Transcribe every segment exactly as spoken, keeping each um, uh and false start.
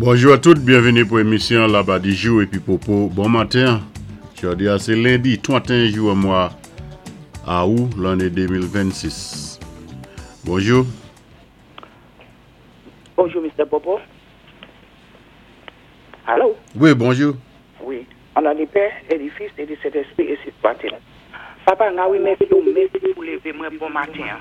Bonjou a tout, byenvini pou émisyon Labadi Jou épi Popo. Bon maten. Jòdi a sé lendi tranteyen jou mwa awou lanné de mil vennsis. Bonjou. Bonjou, Mister Popo. Alo? Wi, bonjou. Wi. An non di Pè, é di Fis, é di Sentèspwi, énsi swat-il. Papa, nga wi, mèsi ou, mèsi pou lévé mwen bon maten.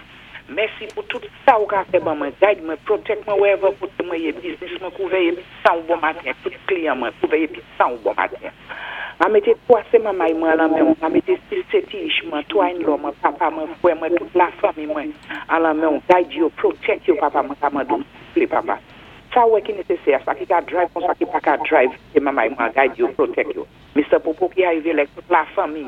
Mèsi pou tout sa ou ka fè ban mwen, guide mwen, protect mwen wherever koté mwen yé, business mwen kouvè épi san ou bon maten, tout kliyan mwen kouvè épi san ou bon maten. Nga mété twa sé manmay mwen lan men, nga mété sis sé ti'ch mwen, twa in-law mwen, papa mwen, fwè mwen, tout lafanmi mwen, an lan men, guide yo, protect yo, papa mwen, ka mande ou, souplé, papa. Sa wè ki nésésè, sa ki ka drive kon sa ki pa ka drive, sé manmay mwen, guide yo, protect yo. Mister Popo ki arivé lè tout lafanmi,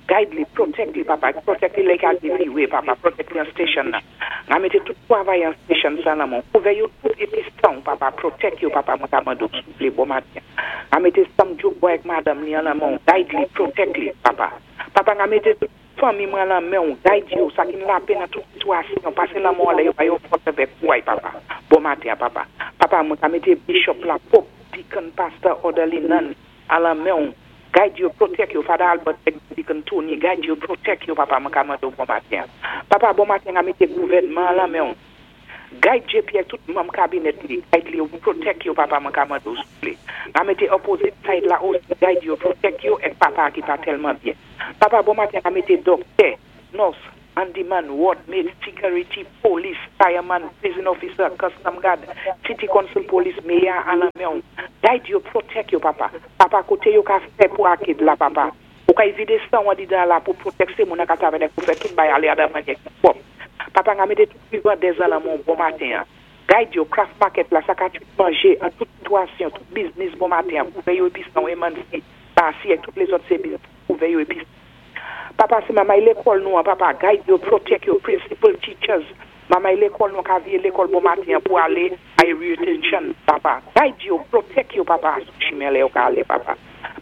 guide li, protect li, papa, protect li lè ka di freeway, papa, protect li an station nan. Nga mété tout travay an station sa nan men, kouvè yo tout épi san, papa, protect yo, papa, mwen ka mande ou, souplé, bon maten. Nga mété Sam Joke Boy ak madanm li an lan men, guide li, protect li, papa. Papa, nga mété tout fanmi mwen lan men, guide yo, sa ki n lapèn nan tout sitwasyon, pasé lanmen lè yo ba yo fòs avèk kouway, papa. Bon maten, papa. Papa, mwen ka mété Bishop la, Pope, Deacon, Pastor, Orderly, Nun, an lan men, guide yo, protect yo, Father Albert, Deacon Tony, guide yo, protect yo, papa, mwen ka mande ou bon maten. Papa, bon maten, nga mété gouvèdman lan men, guide J P tout manm kabinèt li, guide li yo, protect yo, papa, mwen ka mande ou souplé. Nga mété opposite side la osi, guide yo, protect yo, ek papa ki pa tèlman byen. Papa, bon maten, nga mété doktè, nurse, handyman, ward maid, security, police, fireman, prison officer, custom guard, city council police, mayor, an lan men, guide yo, protect yo, papa. Papa, koté yo ka fè pou akid la, papa. Ou ka évité san wan di dan la pou protect sé moun an ka travay pou fè tout bay alé adan manyè ki pwòp. Papa, nga mété tout vivan dezan lan men bon maten. Guide yo, craft market la, sa ka tout manjé, an tout sitwasyon, tout business bon maten, kouvè yo épi san emansi, basi ek tout lézòt sé business, kouvè yo épi. Papa, sé mamay lékòl nou an, papa, guide yo, protect yo, principal teachers, mamay lékòl nou ka vyé lékòl bon maten pou alé a retention, papa. Guide yo, protect yo, papa, sou chimen lè yo ka alé, papa.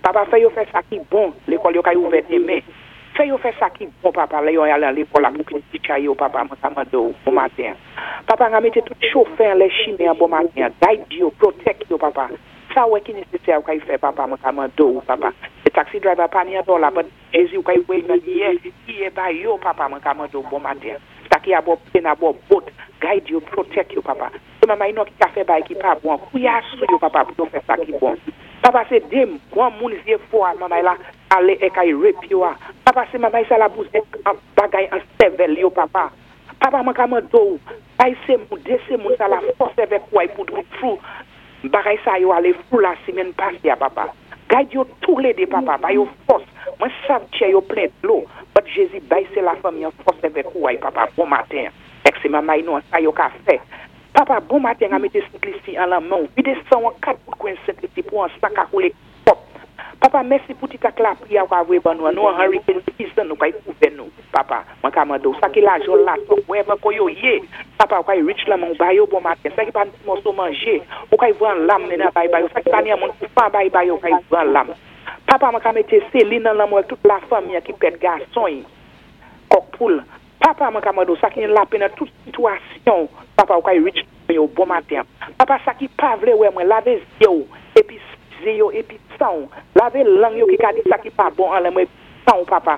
Papa, fè yo fè sa ki bon, lékòl yo ka yo ouvè démen. Fè yo fè sa ki bon, papa, lè yo alé an lékòl la pou ki teacher yo, papa, mwen ka mande ou, bon maten. Papa, nga mété tout chofè an lè chimen an bon maten, guide yo, protect yo, papa. Sa wè ki nésésè ou ka y fè, papa, mwen ka mande ou, papa. Se taxi driver pa ni an do la, but Jezi ou ka y wè nan yè, yè ba yo, papa, mwen ka mande ou bon maten. Sa ki a bò plane, a bò boat, guide yo, protect yo, papa. Se mamay nou ki ka fè bay ki pa bon, kouya sou yo, papa, pou yo fè sa ki bon. Papa, sé dé gwan moun zyé fò a mamay la, alé é kay rape yo a. Papa, sé mamay sa la bouzé an bagay an sèvèl yo, papa. Papa, mwen ka mande ou, bay sé moun, dé sé moun sa la fòs avèk kouway pou dou fou. Bagay sa yo alé fou la simenn pasé a, papa. Guide yo tou lé dé, papa, bay yo fòs. Mwen sav tchè yo plen dlo, but Jezi bay sé lafanmi an fòs avèk kouway, papa, bon maten. Ek sé mamay nou an sa yo ka fè. Papa, bon maten, a mété Sent Lisi an lan men, vidé san an kat bout kwen Sent Lisi pou an sa ka koulé pwòp. Papa, mèsi pou ti tak lapli a wavwe ban nou, nou an hurricane season nou kay kouvè nou, papa, mwen ka mande ou, sa ki la jol la tok, wherever ko yo yé, papa, ou kay reach la men, ou bay yo bon maten, sa ki pa ti moso manjé, ou kay vran lam men bay bay yo, sa ki pa ni an moun pou fa bay bay yo, ou kay vran lam. Papa, mwen ka mété Céline nan lan mwen, tout lafanmi ki pèd gason yi, kòk poul. Papa, mwen ka mande ou, sa ki yon lapè nan tout sitwasyon, papa, ou kay reach yo bon maten. Papa, sa ki pa vlé wè mwen, lavé zyé yo, épi zyé yo, épi san, lavé lang yo ki ka di sa ki pa bon an lè mwen, san, papa.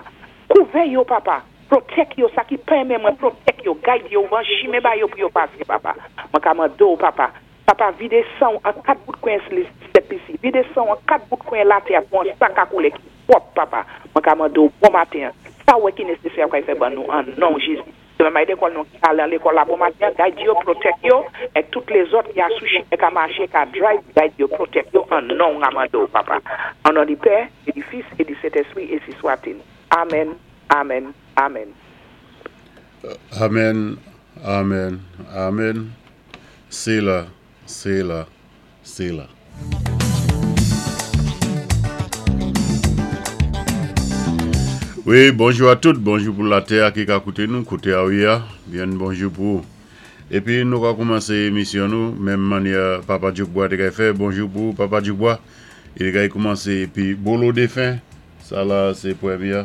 Kouvè yo, papa. Protect yo, sa ki pa renmen mwen, protect yo, guide yo, van chimen ba yo pou yo pasé, papa. Mwen ka mande ou, papa. Papa, vidé san an kat bout kwen Sent Lisi, vidé san an kat bout kwen latè pou an sa ka koulé ki pwòp, papa. Mwen ka mande ou bon maten. Sa wè ki nésésè ou ka fè ban nou an non Jezi. Se mamay lékòl nou ki alé an lékòl la bon maten, guide yo, protect yo, ek tout lézòt ki a sou chimen ka maché, ka drive, guide yo, protect yo, an non nga mande ou, papa. An non di Pè, é di Fis, é di Sentèspwi, énsi swat-il. Amen, amen, amen. Amen, amen, amen. Séla, séla, séla. Wi, bonjou a tout, bonjou pou latè ki ka kouté nou, kouté a wi a, byen bonjou pou. Épi nou ka koumansé émisyon nou, menm mannyè Papa Djoukbois té kay fè, bonjou pou Papa Djoukbois. I kay koumansé épi Bolo Défen, sa la sé pwémyé.